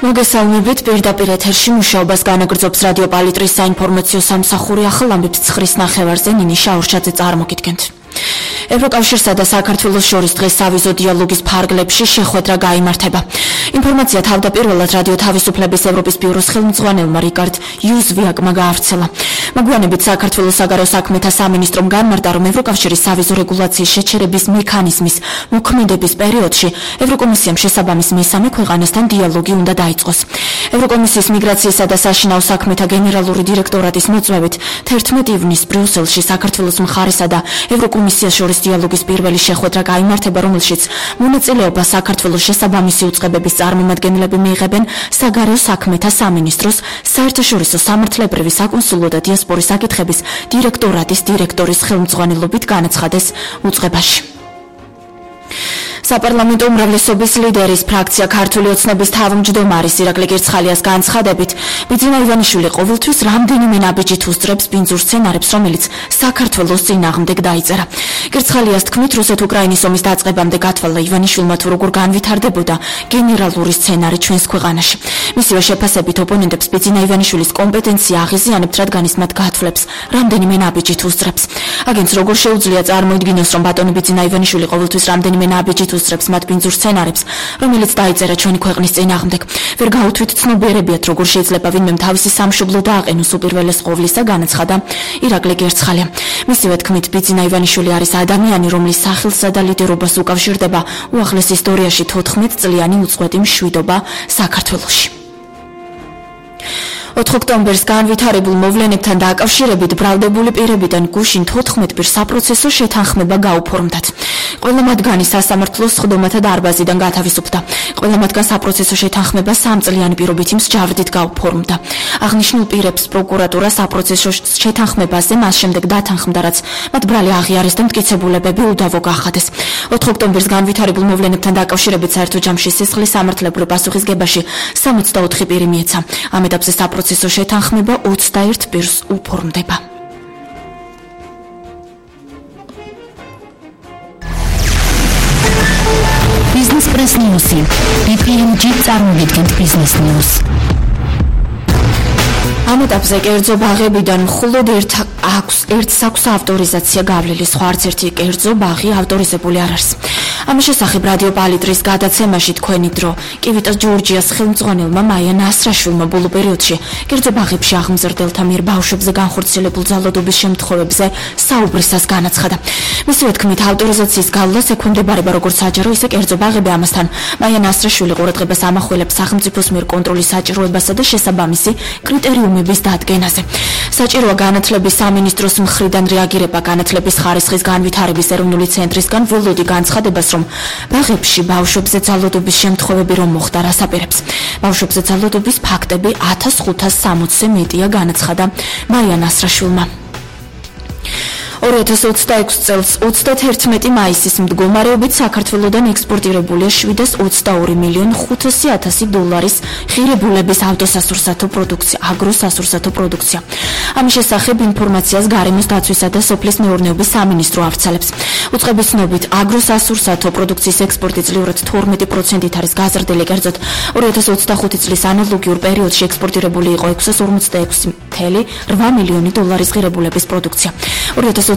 მოგესალმებით, პირდაპირ ეთერში მუშაობას განაგრძობს რადიო პალიტრის საინფორმაციო სამსახური. ახალ ამბებს 9:00 ნახევარზე ნინი შაურჩაძე წარმოგიდგენთ. ევროკავშირსა და საქართველოს შორის დღეს სავიზო დიალოგის ფარგლებში შეხვედრა გაიმართება. ინფორმაცია თავდაპირველად რადიო თავისუფლების ევროპის ბიუროს ხელმძღვანელმა რიკარდ იუზვიაკმა გაავრცელა. მოგვიანებით საქართველოს საგარეო საქმეთა სამინისტრომ განმარტა, რომ ევროკავშირის სავიზო რეგულაციის შეჩერების მექანიზმის მოქმედების პერიოდში ევროკომისიამ შესაბამის მესამე ქვეყანასთან დიალოგი უნდა დაიწყოს. ევროკომისიის მიგრაციისა და საშინაო საქმეთა გენერალური დირექტორატის მოწვევით 11 ივნისს ბრიუსელში საქართველოს მხარესა და ევროკომისიას შორის დიალოგის პირველი შეხვედრა გაიმართება, რომელშიც მონაწილეობა საქართველოს შესაბამისი უწყებების წარმომადგენლები მიიღებენ საგარეო საქმეთა სამინისტროს საერთაშორისო სამართლებრივი საკონსულო და დიასპორის საკითხების დირექტორატის დირექტორის ხელმძღვანელობით განაცხადეს უწყებაში. საპარლამენტო უმრავლესობის ლიდერის ფრაქცია ქართული ოცნების თავმჯდომარის ირაკლი კირცხალიას განცხადებით, ბიძინა ივანიშვილი ყოველთვის რამდენიმე ნაბიჯით უსწრებს ბინძურ სცენარებს, რომელიც საქართველოს წინააღმდეგ დაიწერა. კირცხალიას თქმით, რუსეთ-უკრაინის ომის დაწყებამდე გათვალა ივანიშვილმა თუ როგორ განვითარდებოდა გენერალური სცენარი ჩვენს ქვეყანაში. მისივე შეფასებით ოპონენტებს ბიძინა ივანიშვილის კომპეტენცია აღიზიანებთ, რადგან ის მათ გათვლებს რამდენიმე ნაბიჯით უსწრებს. აგენტს როგორ შეუძლია წარმოიდგინოს, რომ ბატონი ბიძინა ივანიშვილი ყოველთვის რამდენიმე ნაბიჯით უსწრებს მათ ბინძურ სცენარებს, რომელიც დაიწერა ჩვენი ქვეყნის წინააღმდეგ. ვერ გაუთვით ცნობიერებიათ, როგორ შეიძლება ვინმემ თავისი სამშობლო დააყენოს უპირველეს ყოვლისა, განაცხადა ირაკლი კირცხალია. მისივე თქმით, ბიძინა ივანიშვილი არის ადამიანი, რომლის სახელსა და ლიდერობას უკავშირდება უახლეს ისტორიაში 14 წლიანი უწყვეტი მშვიდობა საქართველოში. 4 ოქტომბერს განვითარებულ მოვლენებთან დაკავშირებით ბრალდებული პირებიდან გუშინ 14 პირს საპროცესო შეთანხმება გაუფორმდათ. ყველა მათგანი სასამართლოს სხდომათა დარბაზიდან გათავისუფლდა. ყველა მათგან საპროცესო შეთანხმება 3 წლიანი პირობითი მსჯავრდით გაუფორმდა. აღნიშნულ პირებს პროკურატურა საპროცესო შეთანხმებაზე მას შემდეგ დათანხმდა, რაც მათ ბრალი აღიარეს და მტკიცებულებები უდავო გაახადეს. 4 ოქტომბერს განვითარებულ მოვლენებთან დაკავშირებით საერთო ჯამში სისხლის სამართლებრივ პასუხისგებაში 64 პირი მიეცა. ამ ეტაპზე საპროცესო შეთანხმება 21 პირს უფორმდება. Business Press News. BPMG წარმოგიდგენთ Business News. ამ ეტაპზე კერძო ბაღებიდან მხოლოდ ერთს აქვს ავტორიზაცია გავლილი, სხვა არც ერთი კერძო ბაღი ავტორიზებული არ არის. ამის შესახებ რადიო პალიტრის გადაცემაში თქვენი დრო კივიტა ჯორჯიას ხელმძღვანელმა მაია ნასრაშვილმა ბოლო პერიოდში კერძო ბაღებში აღმზრდელთა მიერ ბავშვებზე განხორციელებულ ძალადობის შემთხვევებზე საუბრისას განაცხადა. მისივე თქმით, ავტორიზაციის გავლას ექვემდებარება როგორც საჯარო, ისე კერძო ბაღები. ამასთან მაია ნასრაშვილი ყურადღებას ამახვილებს სახელმწიფოს მიერ კონტროლის საჭიროებასა და შესაბამისი კრიტერიუმების დადგენაზე. საჭიროა განათლების სამინისტროს მხრიდან რეაგირება განათლების ხარისხის განვითარების ეროვნული ცენტრისგან ველოდი განცხადებას, რომ ბაღებში ბავშვებზე ძალადობის შემთხვევები რომ მოხდა, რას აპირებს. ბავშვებზე ძალადობის ფაქტები 1560-ზე მეტია, განაცხადა მაია ნასრაშვილმა. 2026 წელს 31 მაისის მდგომარეობით საქართველოდან ექსპორტირებულია 722,500,000 დოლარის ღირებულების ავტოსასურსათო პროდუქცია, აგროსასურსათო პროდუქცია. ამის შესახებ ინფორმაციას გარემოს დაცვისა და სოფლის მეურნეობის სამინისტრო ავრცელებს. უწყების ცნობით, აგროსასურსათო პროდუქციის ექსპორტი წლიურად 12%-ით არის გაზრდილი, კერძოდ 2025 წლის ანალოგიურ პერიოდში ექსპორტირებული იყო 646,8 მილიონი დოლარის ღირებულების პროდუქცია. 2026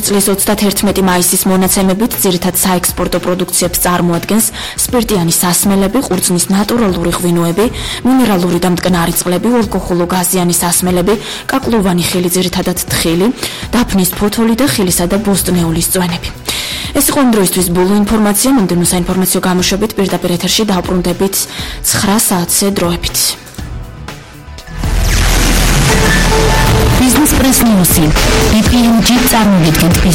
წლის 31 მაისის მონაცემებით ძირითად საექსპორტო პროდუქციებს წარმოადგენს სპირტიანი სასმელები, ყურძნის ნატურალური ღვინოები, მინერალური და მტკნარი წყლები, ალკოჰოლო-გაზიანი სასმელები, კაკლოვანი ხილი, ძირითადად თხილი, დაფნის ფოთოლი და ხილისა და ბოსტნეულის წვენები. ეს იყო იმ დროისთვის ბოლო ინფორმაცია. მომდევნო საინფორმაციო გამოშვებით პირდაპირ ეთერში დავბრუნდებით 9 საათზე დროებით. Business Press News. BPMG წარმოგიდგენთ